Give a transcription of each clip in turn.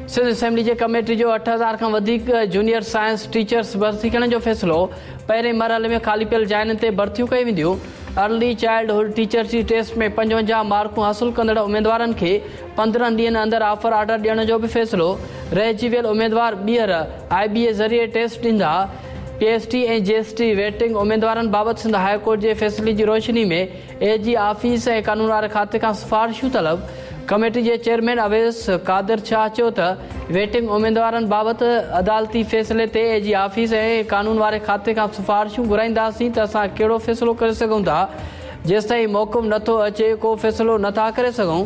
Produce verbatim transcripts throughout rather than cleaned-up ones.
Sindh assembly जे committee जो अठ हज़ार खां वधीक जूनियर साइंस टीचर्स भर्ती करण जो फ़ैसिलो। पहिरें मरहले में ख़ाली पियल जाइनि ते भर्तियूं कयूं वेंदियूं। अर्ली चाइल्डहुड टीचर जी टेस्ट में पंजवंजाह मार्कूं हासिल कंदड़ उमेदवारनि खे पंद्रहं ॾींहनि अंदरि ऑफर आर्डर ॾियण जो बि फ़ैसिलो। रहिजी वियल उमेदवार ॿीहर आई बी ए ज़रिए टेस्ट ॾींदा। पी एस टी ऐं जे एस टी वेटिंग उमेदवारनि बाबति सिंध हाई कोर्ट जे फ़ैसिले जी रोशनी में ए जी ऑफिस ऐं कानून वारे खाते खां सिफारिशूं तलब। कमेटी जे चेयरमैन अवैस कादिर शाह चयो त वेटिंग उमेदवारनि बाबति अदालती फ़ैसिले ते ए जी ऑफिस ऐं कानून वारे खाते खां सिफारिशूं घुराईंदासीं त असां कहिड़ो फ़ैसिलो करे सघूं था। जेसिताईं मौक़िफ़ नथो अचे को फ़ैसिलो नथा करे सघूं।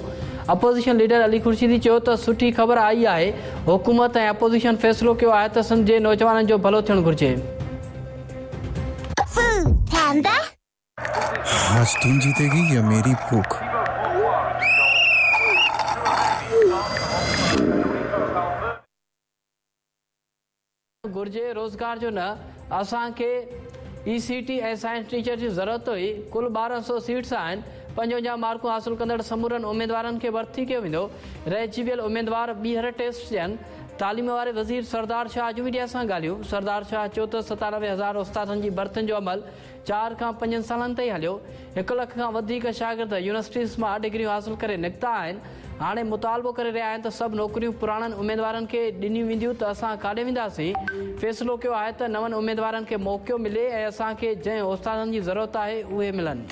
अपोज़िशन लीडर अली खुर्शीदी चयो त सुठी ख़बर आई आहे, हुकूमत ऐं अपोज़िशन फ़ैसिलो कयो आहे त सिंध जे नौजवाननि जो भलो थियणु घुरिजे। आज तुम जीतेगी या मेरी भूख? घुरिजे रोज़गार जो न, असांखे ई सी टी ऐं साइंस टीचर जी ज़रूरत हुई। कुल ॿारहं सौ सीट्स आहिनि। पंजवंजाह मार्कूं हासिल कंदड़ समूरनि उमेदवारनि खे भर्ती कयो वेंदो। रहिजी वियल उमेदवार ॿीहर टेस्ट ॾियनि। तालीम वारे वज़ीर सरदार शाह जूं मीडिया सां ॻाल्हियूं। सरदार शाह चयो त सतानवे हज़ार उस्तादनि जी भर्तियुनि जो अमल चारि खां पंजनि सालनि ताईं हलियो। हिकु लख खां वधीक शागिर्द यूनिवर्सिटीज़ मां डिग्रियूं हासिल करे निकिता आहिनि। हाणे मुतालबो करे रहिया आहिनि त सभु नौकरियूं पुराणनि उमेदवारनि खे ॾिनियूं वेंदियूं त असां काॾे वेंदासीं। फ़ैसिलो कयो आहे त नवनि उमेदवारनि खे मौक़ो मिले ऐं असांखे जंहिं उस्तादनि जी ज़रूरत आहे उहे मिलनि।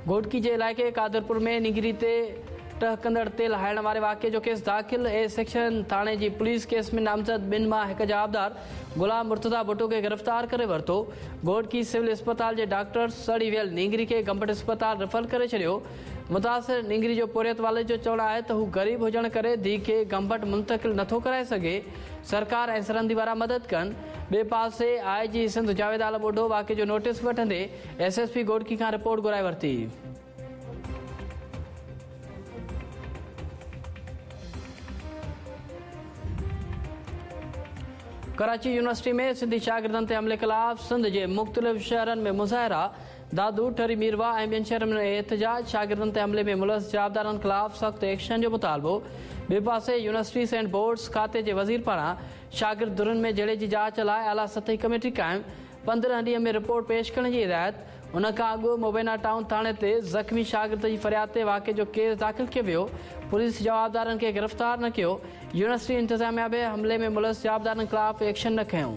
घोटकी जे इलाइक़े कादरपुर में निगरी ते टहकंदड़ तेल हाइण वारे वाक़िए जो केस दाख़िल। ए सेक्शन थाणे जी पुलिस केस में नामज़द ॿिनि मां हिकु जवाबदार गुलाम मुर्तज़ा भुट्टो खे गिरफ़्तार करे वरितो। घोटकी सिविल अस्पताल जे डॉक्टर सड़ी वियल नींगरी खे गंबट अस्पताल रेफर करे छॾियो। मुतासिर नींगरी जो पोरियत वाले जो चवणु आहे त हू ग़रीब हुजण करे धीउ खे गंबट मुंतकिल नथो कराए सघे। सरकार ऐं सरंदी वारा मदद कनि। ॿिए पासे आई जी सिंध जावेद आलम ओढो वाक़िए जो नोटिस वठंदे एस एस पी घोटकी खां रिपोर्ट घुराए वरिती। कराची यूनिवर्सिटी में सिंधी शागिर्दनि ते हमले ख़िलाफ़ सिंध जे मुख़्तलिफ़ शहरनि में मुज़ाहिरा। दादू, ठरी मीरवा ऐं ॿियनि शहरनि में एहतजाज। शागिर्दनि ते हमले में मुलविस जवाबदारनि ख़िलाफ़ सख़्तु एक्शन जो मुतालबो। ॿिए पासे यूनिवर्सिटीज़ एंड बोर्ड्स खाते जे वज़ीर पारां शागिर्द धुरनि में झेड़े जी जांच लाइ आला सतही कमेटी क़ाइमु। पंद्रहं ॾींहं में रिपोर्ट पेश करण जी हिदायत। उन खां अॻु मुबैना टाउन थाणे ते ज़ख़्मी शागिर्द जी फ़रियाद ते वाक़िए जो केस दाख़िल कयो वियो। पुलिस जवाबदारनि खे गिरफ़्तार न कयो। यूनिवर्सिटी इंतिज़ामिया बि हमले में मुलविस जवाबदारनि ख़िलाफ़ एक्शन न खयो।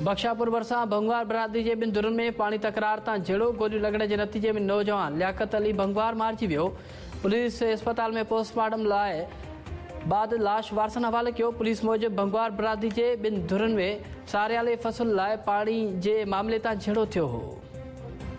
बख्शापुर भरिसां भंगवार बरादरी जे ॿिनि धुरनि में पाणी तकरार तां झेड़ो। गोलियूं लॻण जे नतीजे में नौजवान लियाकत अली भंगवार मारिजी वियो। पुलिस अस्पताल में पोस्टमार्टम लाइ बाद लाश वारसनि हवाले कयो। पुलिस मूजिबि भंगवार बरादरी जे ॿिनि धुरनि में सारियाले फसल लाइ पाणी जे मामले तां झेड़ो थियो हो।